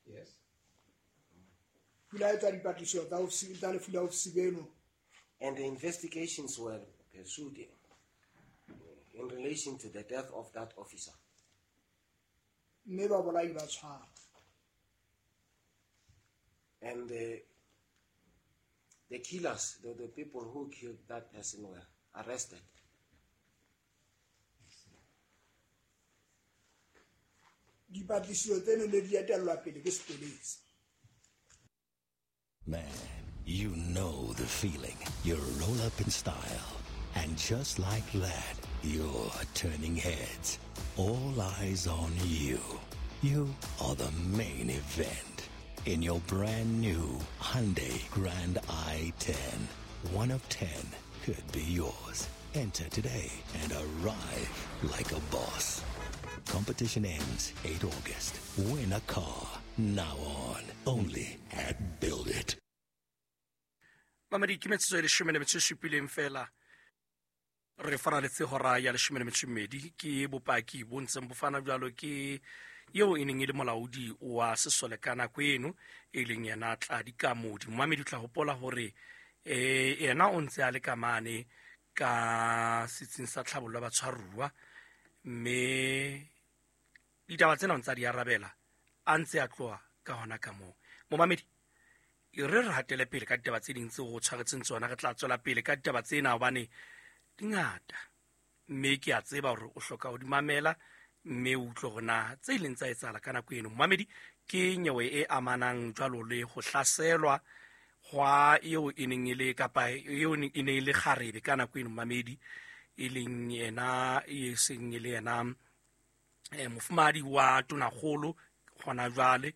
Yes. Ho ile ha etswa dipatlisiso tsa ofisi tsa lefu la ofisi beno. And the investigations were pursued in relation to the death of that officer. Mme babolai ba tshwarwa. And the killers, the people who killed that person were arrested. Dipatlisiso tseno ne di etellwa pele ke sepolesa. Man, you know the feeling. You roll up in style. And just like that, you're turning heads. All eyes on you. You are the main event. In your brand new Hyundai Grand i10. 1 of 10 could be yours. Enter today and arrive like a boss. Competition ends 8 August. Win a car now on only at Build It. Mamedi, ke metsotso e leshome le metso e supileng fela re faraletse hora ya leshome le metso e mmedi. Ke bopaki bo ntseng bo fana jwalo ke eo e neng e le molaodi wa sesole ka nako eno, e leng yena Tladi Kamodi. Momamedi, o tla hopola hore yena o ntse a le ka mane ka setsing sa tlhabollo ya batshwaruwa, mme ditaba tsena o ntse a di arabela a ntse a tloha ka hona ka moo. Momamedi, e re re hatele pele ka ditaba tse ding tseo o tshwaretseng tsona. Re tla tswela pele ka ditaba tsena hobane di ngata, mme ke a tseba hore o hloka ho di mamela mme o utlwe hore na tse ileng tsa etsahala ka nako eno. Momamedi, ke nyewe e amanang jwalo le ho hlaselwa hwa eo e neng e le kapa eo e neng e le kgarebe ka nako eno, momamedi, e leng yena e seng e le yena mofumahadi wa tonakgolo hona jwale,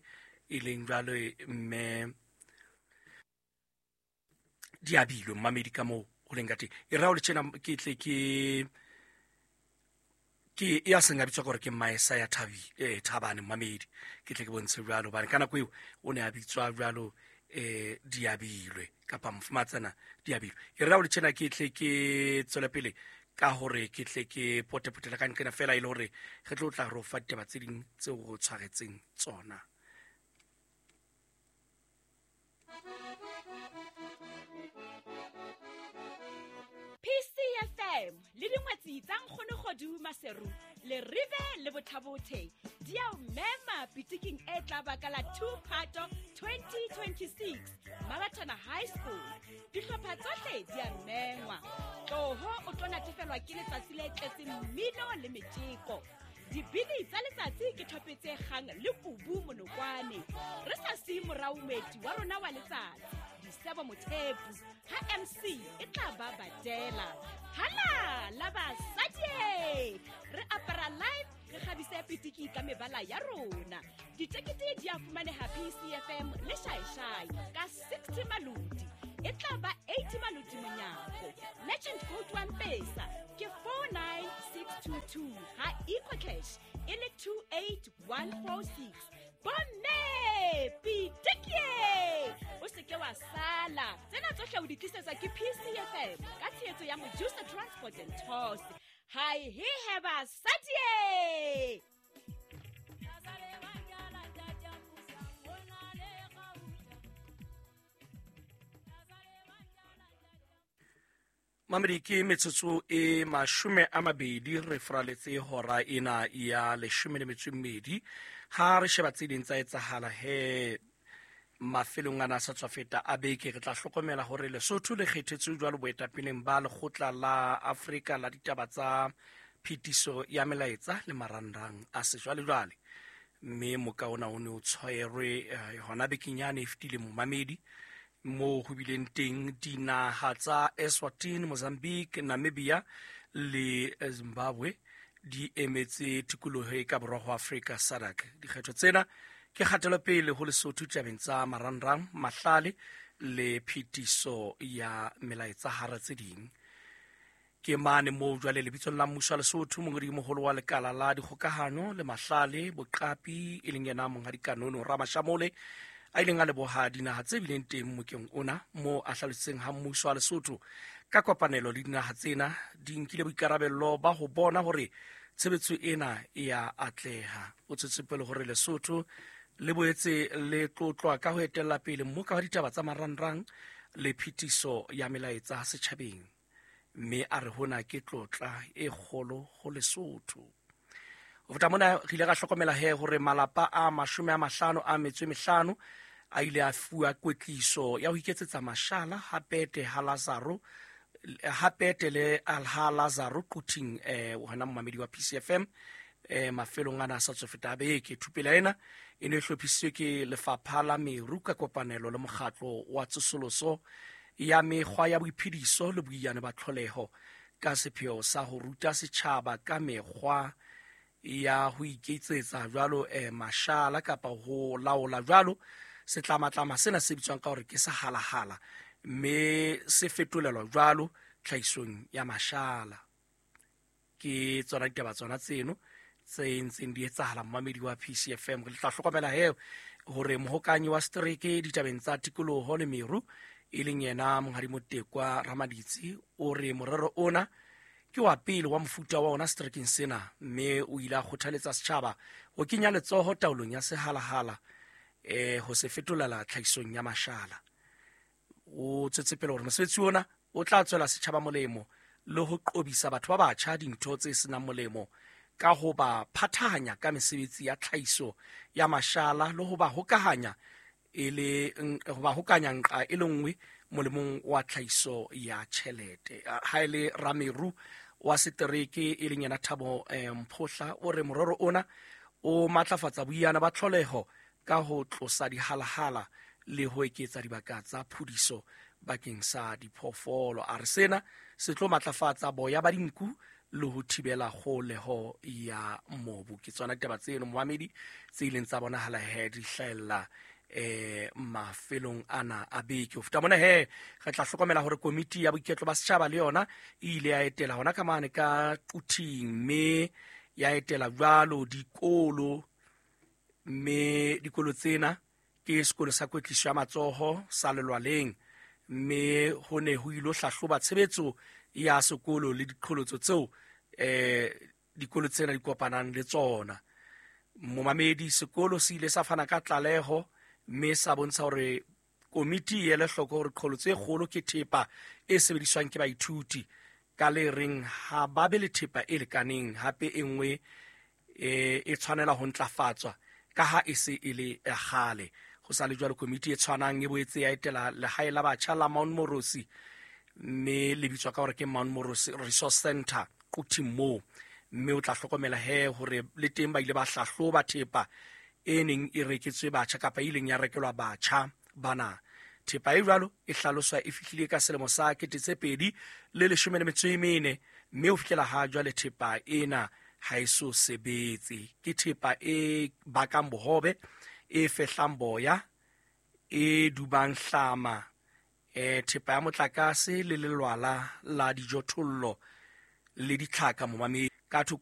e leng jwale mme Diabilwe. Momamedi, ka moo ho leng ka teng. E re ha o le tjena ke tle ke ke ya seng a bitswa gore ke Maesa ya Thabane. Momamedi, ke tle ke bontshe jwalo hobane ka nako eo o ne a bitswa jwalo Diabilwe kapa mofumatsana Diabilwe. E re ha o le tjena ke tle ke tswele pele ka hore ke tle ke potepotela ka nqena fela e le hore re tlo tla re o fa ditaba tse ding tseo re o tshwaretseng tsona. PCFM le dingwetsi tsa Nkgono Kgodu Maseru le Rive le Bothabothe di a o mema pitiking e tla ba ka la 2 Phato 2026 Mabatana High School. Dihlopha tsohle di a mengwa. Tloho o tlo natefelwa ke letsatsi le tletseng mmino le metjeko. Dibini tsa letsatsi ke thope tse kgang le kubu monokwane. Re sa siye morao moeti wa rona wa letsatsi, Disebo Mothepu, ha MC e tla ba badela. Hala la basadi! Re apara live, re kgabise pitiki ka mebala ya rona. Ditekete di a fumaneha PCFM le Shaeshai ka 60 maloti. E tla ba 80 maloti monyako. Legend code wa Mpesa ke 49622, ha EcoCash e le 28146. Bomme, pitikie! O se ke wa sala. Tsena tsohle o di tlisetswa ke PCFM ka tshehetso ya Mojusa Transport and Tours. Hai he he basadi! Mamedi, ke metsotso e 20 re fraletse hora ena ya leshome le metso e mmedi. Ha re sheba tse ding tsa etsahala he mafelong ana a sa tswa feta a beke, re tla hlokomela hore Lesotho le kgethetswe jwalo boetapeleng ba lekgotla la Afrika la ditaba tsa phetiso ya melaetsa le marangrang a sejwalejwale. Mme moka ona o ne o tshwerwe hona bekeng yane e fetileng, momamedi, moo ho bileng teng dinaha tsa Eswatini, Mozambique, Namibia le Zimbabwe di emetse tikoloho e ka borwa ho Afrika SADC. Dikgetho tsena ke kgatelopele ho Lesotho tabeng tsa marangrang, mahlale le phetiso ya melaetsa hara tse ding. Ke mane moo jwale lebitsong la mmuso wa Lesotho, mongodi-moholo wa lekala la dikgokahano le mahlale boqapi e leng yena Monghadi Kanono Ramashamole a ileng a leboha dinaha tse bileng teng mokeng ona, moo a hlalositseng ha mmuso wa Lesotho ka kopanelo le dinaha tsena di nkile boikarabello ba ho bona hore tshebetso ena e ya atleha. O tswetse pele hore Lesotho Le boetse le tlotlwa ka ho etella pele mmoka wa ditaba tsa marangrang le phetiso ya melaetsa setjhabeng, mme a re hona ke tlotla e kgolo ho Lesotho. Ho feta mona, re ile ra hlokomela he hore malapa a 55 a ile a fuwa kwetliso ya ho iketsetsa mashala ha Pete le ha Lazaro Quthing, hona momamedi wa PCFM, mafelong ana a sa tswa feta a beke. Thupelo ena e ne e hlophisitswe ke Lefapha la Meru ka kopanelo le Mokgatlo wa Tsosoloso ya Mekgwa ya Boiphediso le Boiyane ba Tlholeho, ka sepheo sa ho ruta setjhaba ka mekgwa ya ho iketsetsa jwalo mashala kapa ho laola jwalo setlamatlama sena se bitswang ka hore ke sehalahala, mme se fetolelwa jwalo tlhahisong ya mashala. Ke tsona ditaba tsona tseno tse ntseng di etsahala, momamedi wa PCFM. Re tla hlokomela he hore mohokanyi wa setereke ditabeng tsa tikoloho le meru, e leng yena Monghadi Motekwa Ramaditsi, o re morero ona ke wa pele wa mofuta wa ona seterekeng sena, mme o ile a kgothaletsa setjhaba ho kenya letsoho taolong ya sehalahala, ho se fetolela tlhahisong ya mashala. O tswetse pele hore mosebetsi ona o tla tswela setjhaba molemo le ho qobisa batho ba batjha dintho tse senang molemo ka ho ba phathahanya ka mesebetsi ya tlhahiso ya mashala le ho ba hokahanya ho ba hokanya nqa e le nngwe molemong wa tlhahiso ya tjhelete. Ha e le rameru wa setereke, e leng yena Thabo Mphohla, o re morero ona o matlafatsa boiyana ba tlholeho ka ho tlosa dihalahala le ho eketsa dibaka tsa phudiso bakeng sa diphoofolo. A re sena se tlo matlafatsa boya ba dinku le ho thibela kgoholeho ya mobu. Ke tsona ditaba tseno, momamedi, tse ileng tsa bonahala he di hlahella mafelong ana a beke. Ho feta mona he, re tla hlokomela hore komiti ya boiketlo ba setjhaba le yona e ile ya etela hona ka mane ka Quthing, mme ya etela jwalo dikolo, mme dikolo tsena ke sekolo sa kwetliso ya matsoho sa Lelwaleng, mme ho ne ho ilo hlahloba tshebetso ya sekolo le diqholotso tseo dikolo tsena di kopanang le tsona. Momamedi, sekolo se ile sa fana ka tlaleho mme sa bontsha hore komiti e ele hloko hore qholotso e kgolo ke thepa e sebediswang ke baithuti, ka le reng ha ba be le thepa e lekaneng, hape e nngwe e tshwanela ho ntlafatswa ka ha e se e le ya kgale. Ho sa le jwalo, komiti e tshwanang e boetse ya etela lehae la batjha la Mount Morosi, mme le bitswa ka hore ke Mount Morosi Resource Center Quthing moo, mme o tla hlokomela he hore le teng ba ile ba hlahloba thepa e neng e reketswe batjha kapa e ileng ya rekelwa batjha bana. Thepa e jwalo e hlaloswa e fihlile ka selemo sa 2014, mme ho fihlela ha jwale thepa ena ha e so sebetse. Ke thepa e bakang bohobe, e fehlang boya, e dubang hlama, thepa ya motlakase le lelwala la dijothollo le ditlhaka, momamedi. Ka thoko